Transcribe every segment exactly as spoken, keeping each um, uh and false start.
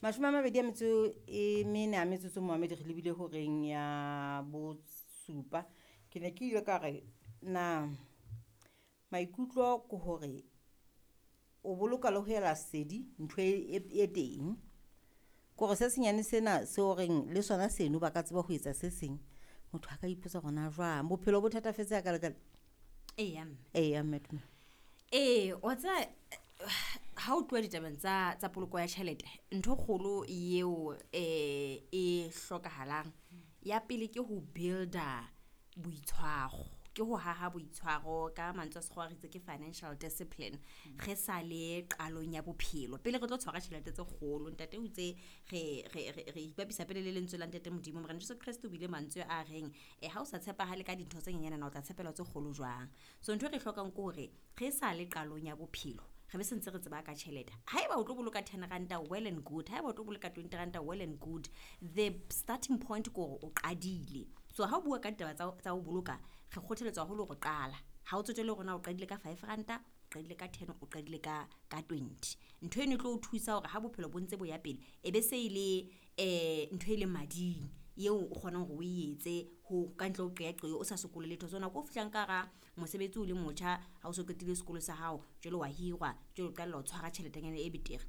Mashome a mabedi a metso e mene a metsotso momamedi re lebile horeng ya bosupa. Ke ne ke ile ka re na maikutlo ke hore o boloka le ho ela sedi ntho e, e, e teng. Kore se senyane sena se horeng le sona seno ba ka tseba ho etsa se seng. Motho a ka ipotsa hore na jwang bophelo bo thatafetse hakalekale. Eya mme. Eya mme Tumelo. Ee, wa tseba ha o tluwa ditabeng tsa tsa poloko ya tjhelete, ntho e kgolo eo eh e hlokahalang ya pele ke ho build-a boitshwaro, ke ho haha boitshwaro ka mantswe a sekgowa re itse ke financial discipline. Re sa le qalong ya bophelo pele re tlo tshwara tjhelete tse kgolo. Ntate o itse re re re re ipapisa pele le lentswe la ntate Modimo Morena Jesu Kreste o buile mantswe a reng eh ha o sa tshepahale ka dintho tse nyenyane na o tla tshepela tse kgolo jwang. So ntho e re hlokang ke hore re sa le qalong ya bophelo re be se ntse re tseba ka tjhelete. Haeba o tlo boloka ten ranta, well and good. Haeba o tlo boloka twenty ranta, well and good. The starting point ke hore o qadile. So ha o bua ka ditaba tsa tsa ho boloka, re kgothaletswa haholo hore qala. Ha o tsotelle hore na o qadile ka five ranta, o qadile ka ten, o qadile ka ka twenty. Ntho eno e tlo o thusa hore ha bophelo bo ntse bo ya pele, e be se e le eh ntho e leng mading eo o kgonang hore o e etse ho ka ntle ho qeaqeo, o sa sokole letho. So nako o fihlang ka hara mosebetsi o le motjha, ha o so qetile sekolo sa hao, jwale wa hirwa, jwale o qalella ho tshwara tjheletenyana e betere.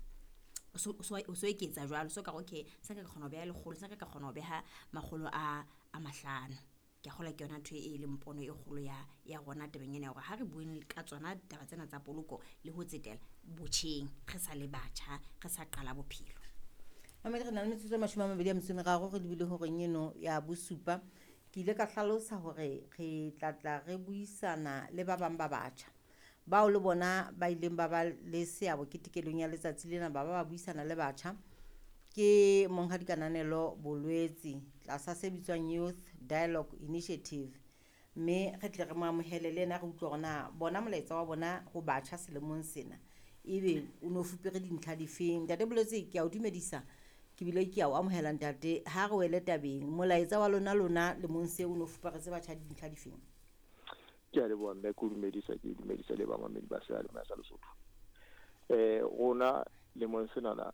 O so o so eketsa jwalo, so ka re okay se nka ka kgona ho beha lekgolo, se nka ka kgona ho beha makgolo a a mahlano. Ke a kgolwa ke yona ntho e leng pono e kgolo ya ya rona tabeng ena ya hore ha re bueng ka tsona taba tsena tsa poloko le ho tsetela botjheng, re sa le batjha, re sa qala bophelo. Mamedi re na le metsotso e mashome a mabedi a metso e meraro re lebile horeng eno ya bosupa. Ke ile ka hlalosa hore re tla tla re buisana le ba bang ba batjha bao le bona ba ileng ba ba le seabo ketekelong ya letsatsi lena, ba ba ba buisana le batjha. Ke Monghadi Kananelo Bolwetse tlasa se bitswang Youth Dialogue Initiative, mme re tle re mo amohele le yena re utlwe hore na bona molaetsa wa bona ho batjha selemong sena ebe o no fupere dintlha difeng. Ntate Bolwetse, ke a o dumedisa, ke bile ke a o amohela ntate. Ha re wele tabeng, molaetsa wa lona lona lemong se o no fuparetse batjha dintlha difeng? Ke a leboha mme, ke o dumedisa, ke dumedisa le bamamedi ba seyalemoya sa Lesotho. Eh rona lemong senana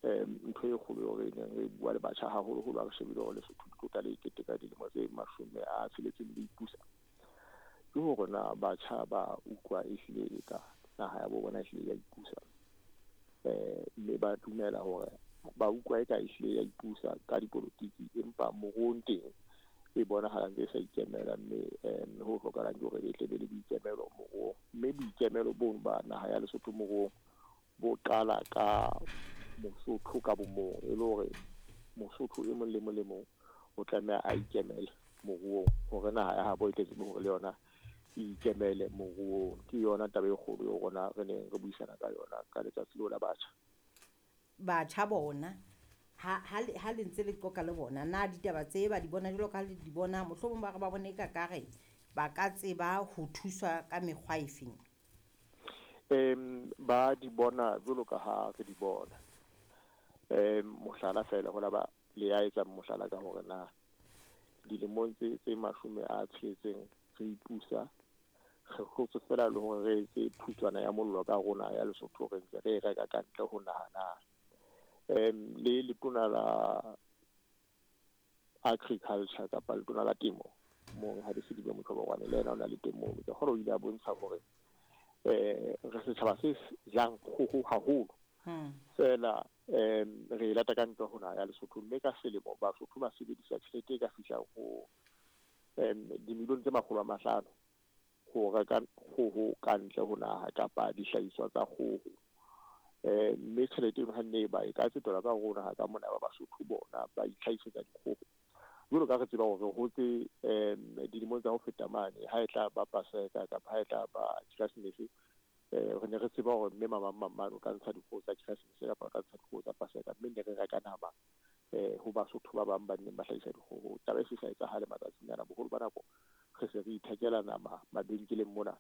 eh ntho e kgolo eo re neng re bua le batjha haholoholo ha re shebile hore Lesotho le tlo tla le keteka dilemo tse mashome a tsheletseng le ipusa, ke hore na batjha ba utlwa ehlile e ka naha ya bo bona ehlile ya ipusa. Eh mme ba dumela hore ba utlwa eka ehlile ya ipusa ka dipolotiki, empa moruong teng e bonahala ntse e sa ikemela, mme um ho hlokahalang ke hore e tle be le boikemelo moruong. Mme boikemelo bono ba naha ya Lesotho moruong bo qala ka Mosotho ka bomong, e le hore Mosotho e mong le mong le mong o tlameha a ikemele moruong hore naha ya habo e tle tsebe hore le yona e ikemele moruong. Ke yona taba e kgolo eo rona re neng re buisana ka yona ka letsatsi leo la batjha. Batjha bona ha ha le ha le ntse le qoqa le bona, na ditaba tse ba di bona jwalo ka ha le di bona, mohlomong ba re ba bone eka kare ba ka tseba ho thuswa ka mekgwa e feng? Em ba di bona jwalo ka ha re di bona. Em mohlala feela ho la ba le ya etsa mohlala ka hore na dilemong tse tse mashome a tsheletseng re ipusa, re hlotse feela le hore re etse phutswana ya mollo ka rona ya Lesotho, re ntse re e reka ka ntle ho naha na. Em le letona la agriculture kapa letona la temo Monghadi Selibe Motlhobogwane le yena o na le teng moo. Ke kgolwa o ile a bontsha hore eh re setjhaba se jang kgoho haholo Hmm. feela em re e lata ka ntle ho naha ya Lesotho, mme ka selemo Basotho ba sebedisa tjhelete e ka fihlang ho em dimilione tse makgolo a mahlano ho reka kgoho ka ntle ho naha kapa dihlahiswa tsa kgoho. Eh mme tjhelete eno ha nne e ba e ka tsetelwa ka hare ho naha ka mona ba Basotho bona ba itlhahisetsa dikgoho. Jwalo ka re tseba hore re hotse em dilemong tsa ho feta mane, ha e tla ba Paseka kapa ha e tla ba Keresemese, eh re ne re tseba hore mme mamang mamane o ka ntsha dikgoho tsa Keresemese kapa o ka ntsha dikgoho tsa Paseka, mme ne re reka nama eh ho Basotho ba bang ba neng ba hlahisa dikgoho. Taba e se sa etsahale matsatsing ana, boholo ba nako re se re ithekela nama mabenkeleng mona,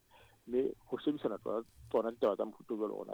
mme ho shebisana tsona tsona ditaba tsa mofuta o jwalo rona